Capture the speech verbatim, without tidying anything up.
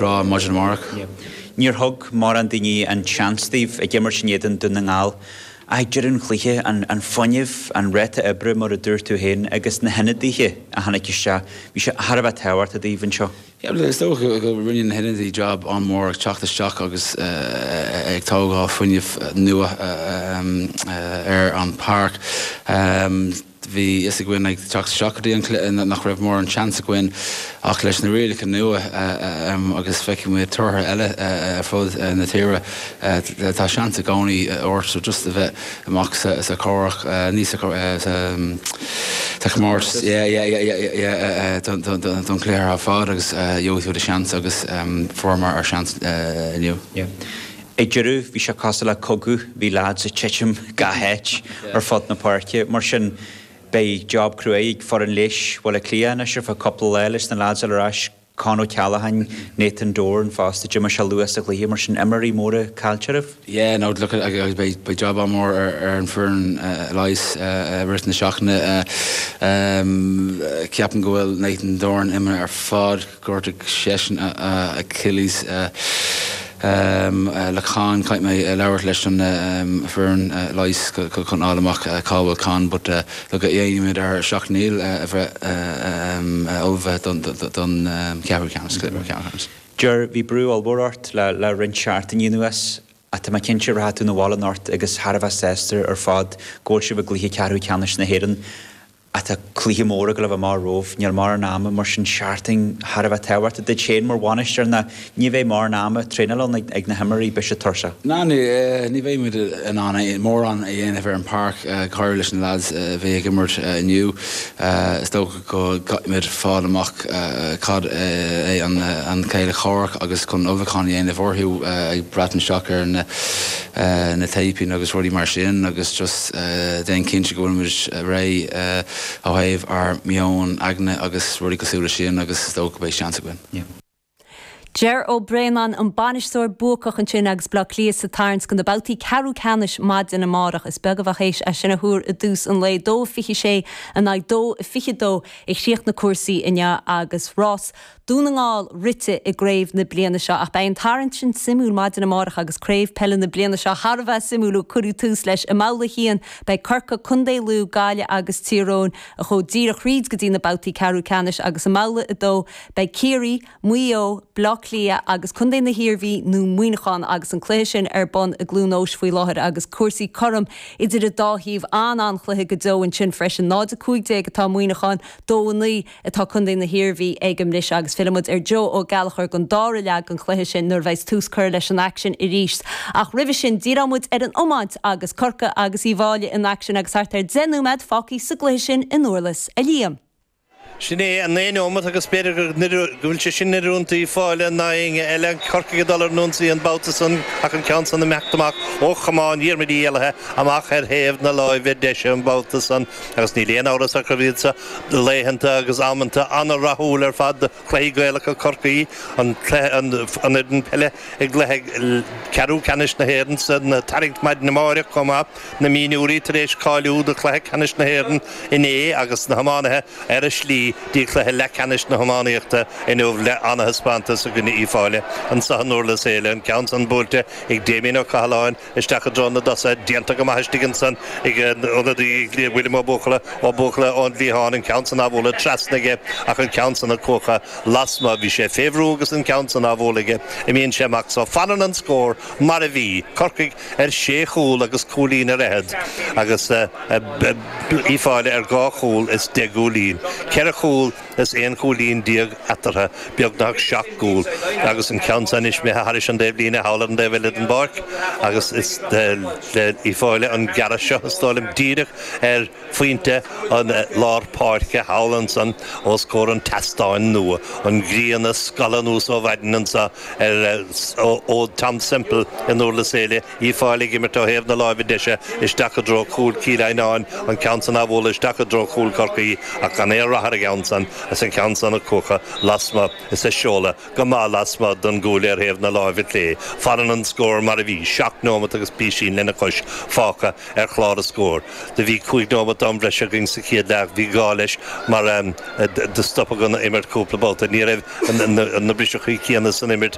rá maidin amárach. Níor thug mórán daoine an seans daoibh ag imirt in éadan Dún na nGall. Ag deireadh an chluiche an, an fuinneamh an ráta oibre mar a dúirt tú féin agus na hionadaithe a tháinig isteach, bhí sé thar a bheith tábhachtach daoibh anseo. Yeah, is dócha go rinne na hionadaithe job an-mhór ag teacht isteach agus uh, ag tógáil fuinneamh nua uh, ar an páirc. Um, bhí fhios againn ag teacht isteach go dtí an cluiche nach raibh mórán seans againn ach leis na rialacha nua agus feicimid tíortha eile ar fud na tíre tá seans i gcónaí ort so just a bheith amach sa sa chomhrac ní sa sa chomórtas don chluiche ar fad agus gheobhaidh tú do seans agus fuaireamar ár seans inniu. Ag deireadh bhí sé cosúil le cogadh bhí lads ag titim gach áit ar fud na páirce mar sin beidh job crua ag foireann leighis Bhaile Átha Cliath anois ar feadh cúpla lá leis na lads ar ais Con O'Callaghan, Nathan Doran fosta d'imigh sé luath sa chluiche mar sin imreoirí móra caillte agaibh? Yeah, no, look agus beidh beidh job an-mhór ar ar an foireann leighis rith na seachtaine ceapaim go bhfuil Nathan Doran imithe ar fad ghortaigh seisean Achilles Um, le Con caithfidh mé labhairt leis an um, foireann uh, leighis chun fháil amach uh, cá bhfuil Con, but uh, look déanfaimid ár seacht ndícheall uh, a bheith uh, um, ullamh don, don um, ceathrú ceannais ceannais. Ger bhí brú ollmhór ort le le roinnt seachtainí anuas a tá mé cinnte rachaidh tú abhaile anocht agus thar a bheith sásta ar fad go bhfuil sibh i gcluiche ceathrú ceannais na hÉireann atá cluiche mór go leith mar romhaibh níl mórán ama mar sin seachtain thar a bheith tábhachtach duit féin mar bhainisteoir na ní bheidh mórán ama traenáil ag, ag na himreoirí beidh siad tuirseach. Ná ní ní bheidh muid in ann mórán a dhéanamh ar an páirc chuir leis na lads a bhí ag imirt inniu is dócha go gcaithfimid fáil amach cad é an an céile comhraic agus chun ullmhúchán a dhéanamh orthu ag breathnú isteach ar na na téipíní agus rudaí mar sin agus just déan cinnte go bhfuil muid réidh ó thaobh ár meon aigne agus rudaí cosúil leis sin agus is dócha beidh seans againn. Yeah. Ger Ó Braonáin an bainisteoir buacach ansin agus Bleá Cliath sa tarraingt do na babhtaí ceathrú ceannais maidin amárach is beag a bheadh théis é sin a thuar i dtús an lae dó fiche sé in aghaidh dó fiche dó a chríochnaigh cúrsaí inniu agus rás Dún na nGall rite i gcraobh na bliana seo ach beidh an tarraingt sin suimiúil maidin amárach agus craobh peile na bliana seo thar a bheith suimiúil ó cuireadh tús leis i mbabhta a haon beidh Corcaigh Contae Lú Gaillimh agus Tír Eoghain a chuaigh díreach thríd go dtí na babhtaí ceathrú ceannais agus i mbabhta a dó beidh Ciarraí, Maigh Eo, Bleá Cliath agus Contae na hIarmhí nó Muineachán agus an cluiche sin ar bun i gCluain Eois faoi láthair agus cúrsaí cothrom idir an dá thaobh an an-chluiche go deo ansin freisin náid a cúig déag atá Muineachán dó a naoi atá Contae na hIarmhí ag an mbris agus fillfimid ar Joe Ó Gallchóir don dara leath den chluiche sin nuair a bheas tús curtha leis an aicsean arís. Ach roimhe sin díreoimid ar an iomáint agus Corcaigh agus Uíbh Fhailí in aicsean agus thart ar deich nóiméad fágtha sa gcluiche sin in Durlas a Liam. Sin é an naoi nóiméad agus b'fhéidir go bhfuil sé sin oiriúnach d'Uíbh Fhailí ná éinne eile Corcaigh ag dul ar an ionsaí an babhta san ach an ceann san imeacht amach ó chamán Dhiarmuid Uí Éalaithe amach ar thaobh na láimhe deise an babhta san agus níl aon amhras ach gurb iad seo laethanta agus amanta an-rathúil ar fad cluichí Gaelacha Chorcaí an an fhoireann peile ag cluiche ceathrú ceannais na hÉireann san tarraingt maidin amárach chomh maith na mionúirí tar éis cáiliú do chluiche ceannais na hÉireann inné agus na hiománaithe ar a slí dtí cluiche leathcheannais na hiománaíochta inniu le an-thaispeántas i gcoinne Uíbh Fhailí anseo i nDurlas Éile an ceann san buailte ag Damien Ó Cathaláin isteach i dtreo na dtosaithe déanta go maith istigh ansan ag ionadaí William Ó Buachalla Ó Buachalla ón gcliathán an ceann san á bhualadh trasna aige ach an ceann san ag cuachadh lasmuigh bhí sé fé bhrú agus an ceann san á bhualadh aige imíonn sé amach so fanann an scór mar a bhí Corcaigh ar sé chúl agus cúilín ar fhichead agus Uíbh Fhailí ar dhá chúl is deich gcúilín. Ceithre chúl is aon chúilín déag eatarthu beagnach seacht gcúl agus an ceann san imithe thairis an dtaobhlíne thall ar an dtaobh eile den bpáirc agus is le Uíbh Fhailí an gearradh seo is dóigh liom díreach ar phointe an lár páirce thall ansan os comhair an tseastáin nua an ghrian ag scalladh anuas ó mhaidin anseo ar ó Tom Semple i nDurlas Éile Uíbh Fhailí ag imirt ó thaobh na láimhe deise isteach i dtreo cúl Cill Ainán an ceann san á bhualadh isteach i dtreo chúl Chorcaí ach gan aon rath ar an gceann san is an ceann san á chuachadh lasmuigh is é seoladh go maith lasmuigh don gcúl ar thaobh na láimhe clé. Fanann an scór mar a bhí seacht nóiméad agus písín lena chois fágtha ar chlár an scóir. Do bhí cúig nóiméad am breise againn sa chéad leath bhí gá leis mar um, do stopadh an imirt cúpla babhta. Ní raibh na briseachaí céanna san imirt